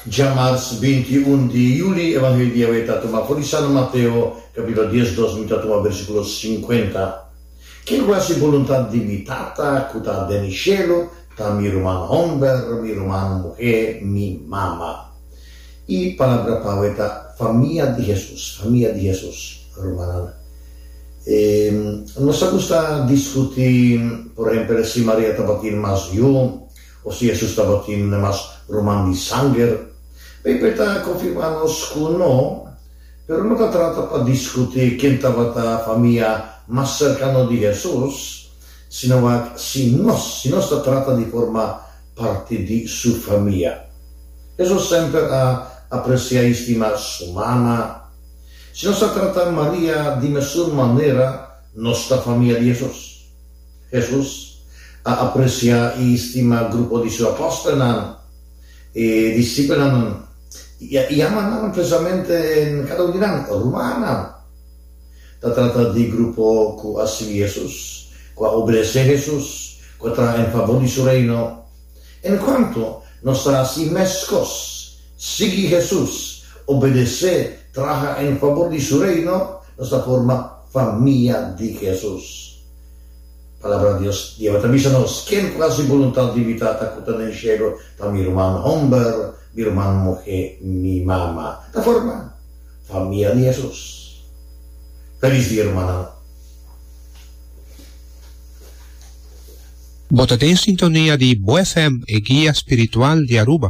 Djamars 21 di yüli, Evangelio di awe ta tuma for di San Mateo, kapítulo 12, mi ta tuma versíkulo 50. Ken ku hasi boluntat di mi Tata ku ta den shelu ta mi ruman hòmber, mi ruman muhé, mi mama. E palabra pa awe ta famia di Hesus, famia di Hesus, rumannan. Nos ta gusta diskutí, por ehèmpel, si Maria tabatin mas yu O si Hesus tabatin mas ruman di sanger? Beibel ta konfirmá nos ku no, pero no ta trata pa diskutí ken tabata famia mas serkano di Hesus, sino wak si nos, si nos ta trata di forma parti di su famia. Hesus semper a apresiá i stima su mama. Si nos ta trata Maria di mesun manera, nos ta famia di Hesus. Hesus a apresiá i stima grupo di su apòstelnan, e disipelnan, i a yama nan presamente kada un di nan rumannan. Ta trata di grupo ku a sigui Hesus, ku a obedesé Hesus, ku a traha en fabor di su Reino. En kuantu nos ta hasi meskos, sigui Hesus, obedesé, traha en fabor di su Reino, nos ta forma famia di Hesus. Palabra Dios Jehová ta bisa nos, Ken ku hasi boluntat di mi Tata ku ta den shelu ta mi ruman homber, mi ruman muhé, mi mama. Ta forma famia di Hesus. Felis dia rumannan. Bo ta den sintonia di Bo FM, e guia spiritual di Aruba.